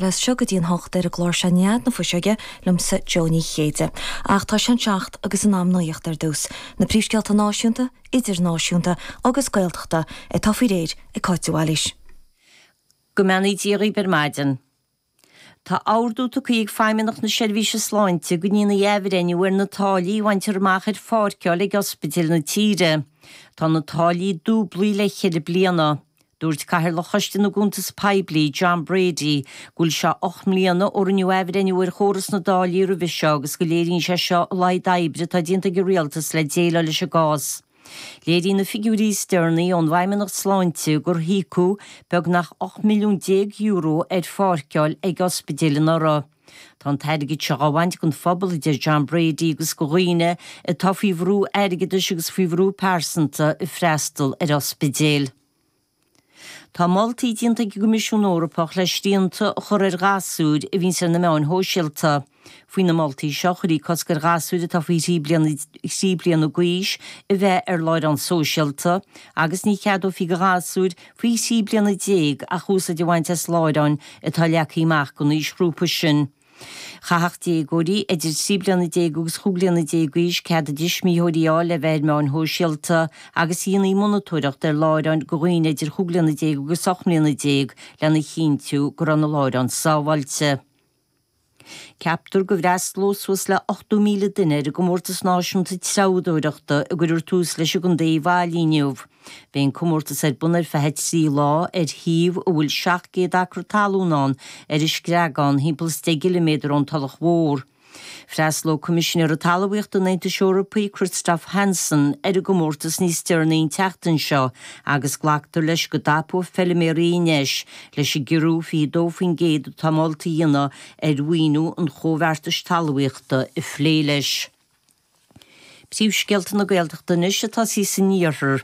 As seo go dtí an hocht ar an gclár seo Nead na Fuiseoige liomsa Jó Ní Chéide. Ach tá sé an seacht agus in am nuaíocht ar dtús. Na príomhscéalta náisiúnta, idirnáisiúnta agus Gaeltachta atá faoi réir ag Cáit de Bhailís. Go mbeannaí Dia dhaoib ar maidin. Tá ordú tugtha ag Feidhmeannacht na Seirbhíse Sláinte go ndéanfaí athbhreithniú ar na táillí a bhaintear amach ar pháirceáil ag ospidéil na tíre. Tá na táillí dúblaithe le ceithre bliana. Dúirt Cathaoirleach Choiste na gCuntas Poiblí, John Brady, go bhfuil sé 8 mbliana ó rinneadh athbhreithniú ar chóras na dtáillí roimhe seo agus go léiríonn sé seo a laghad oibre atá déanta ag an Rialtas le déileáil leis an gcás. Léiríonn na figiúirí is deireanaí ón bhFeidhmeannacht Sláinte gur híocadh beagnach €18 milliún ar pháirceáil ag ospidéil anuraidh. Tá an t-airgead seo á bhaint den phobal, a deir John Brady, agus de dhaoine atá faoi bhrú airgeadais agus faoi bhrú pearsanta ag freastal ar ospidéil. Tá moltaí déanta ag an gCoimisiún Eorpach le srianta a chur ar ghasúir a bhíonns ar na meáin shóisialta. Faoi na moltaí seo, chuirfí cosc ar ghasúir atá faoi thrí bliana thrí bliana d'aois a bheith ar láithreán sóisialta agus ní cheadófaí do ghasúir faoi thrí bliana déag ach úsáid a bhaint as láithreáin atá leagtha amach don aoisghrúpa sin. Chaithfeadh déagóirí idir 13 bliana agus 15 bliana d'aois cead a dtuismitheoirí a fháil le bheith ar meáin shóisialta agus dhéanfaí monatóireacht ar láithreáin do dhaoine idir 15 bliana agus 18 mbliana lena chinntiú go raibh na láithreáin sábháilte. Ceaptar go bhfreastalóidh suas le 80,000 duine ar an gcomórtas náisiúnta treabhdóireachta a gcuirfear tús leis i gContae Uíbh Fhailí inniu. Beidh an comórtas ar bun ar feadh 3 lá ar shuíomh a bhfuil 700 acra talún ann ar an Screagán, thimpeall is 10 gciliméadar ón Tulach Mhór. Freastalóidh Coimisinéara Talmhaíochta an Aontais Eorpaigh, Christophe Hansen, ar an gcomórtas níos deireanaí an tseachtain seo agus glactar leis go dtapóidh feilméaraí an deis leis an gciorrú 22% atá molta a dhéanamh ar mhaoiniú an Chomhbheartais Talmhaíochta a phlé leis. Príomhscéalta na Gaeltachta anois atá sí san iarthar.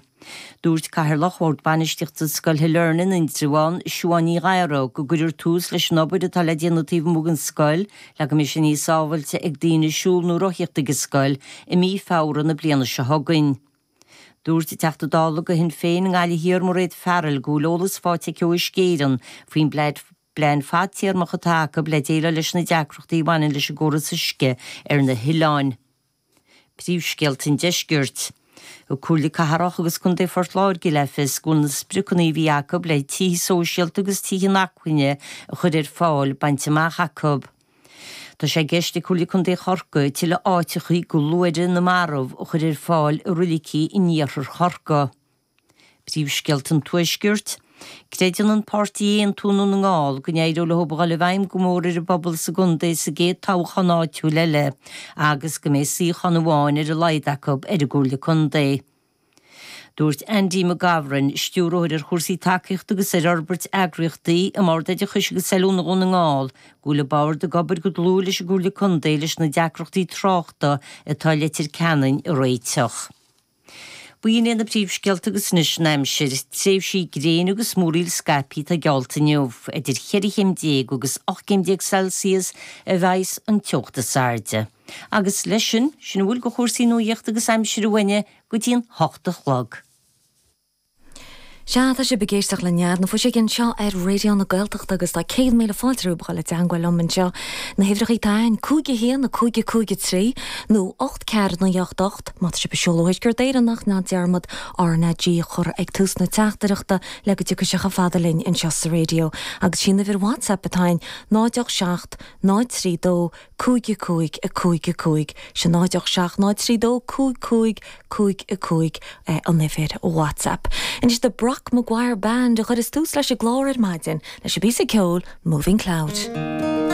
Dúirt Cathaoirleach Bhord Bainistíochta Scoil Shailearna in Indreabhán, Siubhán Ní Ghadhra, go gcuirfear tús leis an obair atá le déanamh taobh amuigh den scoil le go mbeidh sé níos sábhailte ag daoine siúl nó rothaíocht ag an scoil i mí Feabhra na bliana seo chugainn. Dúirt an Teachta Dála do Shinn Féin i nGaillimh Thiar, Mairéad Farrell, go bhfuil eolas faighte aici ó Uisce Éireann faoin bplean fadtéarmach atá acu le déileáil leis na deacrachtaí a bhaineann leis an gcóras uisce ar na hoileáin. Príomhscéalta an Deiscirt. Thug Comhairle Cathrach agus Contae Phort Láirge le fios go bhfuil na spriocanna a bhí acu le tithe sóisialta agus tithe inacmhainne a chur ar fáil bainte amach acu. Tá sé i gceist ag Comhairle Contae Chorcaí tuilleadh áiteachaí do luaithre na marbh a chur ar fáil i roilicí in iarthar Chorcaí. Príomhscéalta an Tuaiscirt. Creideann an páirtí Aontú i nDún na nGall go n-éireoidh leo a dhul i bhfeidhm go mór ar an bpobal sa gcontae sa gcéad toghchán áitiúil eile agus go mbeidh suíochán amháin ar a laghad acu ar an gComhairle Contae. Dúirt Andy McGovern, Stiúrthóir ar chúrsaí tacaíochta agus ar fhorbairt eagraíochtaí i mBord Oideachais agus Oiliúna Dhún na nGall, go bhfuil an Bord ag obair go dlúth leis an gComhairle Contae leis na deacrachtaí tráchta atá i Leitir Ceanainn a réiteach. B'in iad na príomhscéalta agus anois an aimsir. Tréimhsí gréine agus múraíl scaipthe atá geallta inniu. Idir cheithre chéim déag agus 18 gcéim Celsius a bheidhs an teocht is airde. Agus leis sin, sin a bhfuil de chúrsaí nuaíochta agus aimsire uainne go dtí an hocht a chlog. Sea, tá sibh ag éisteacht le Nead na Fuiseoige anseo ar Raidió na Gaeltachta agus tá 100,000 fáilte romhaibh a dhul i dteangmháil liom anseo. Na huimhreacha atá againn, 5 1 5 5 3 nó 8 4 9 8 8 má tá sibh ag seoladh ó Thuaisceart Éireann ach ná dearmad RnaG a chur ag tús na teachtaireachta le go dtiocfaidh sé chomh fada linn anseo sa raidió. Agus sí an uimhir WhatsApp atá againn, 0 8 7 0 3 2 5 5 5 5 Sin 0 8 7 0 3 2 5 5 5 5 an uimhir WhatsApp. Anois The Brock Maguire Band a chuireas tús leis an gclár ar maidin leis an bpíosa ceoil Moving Cloud.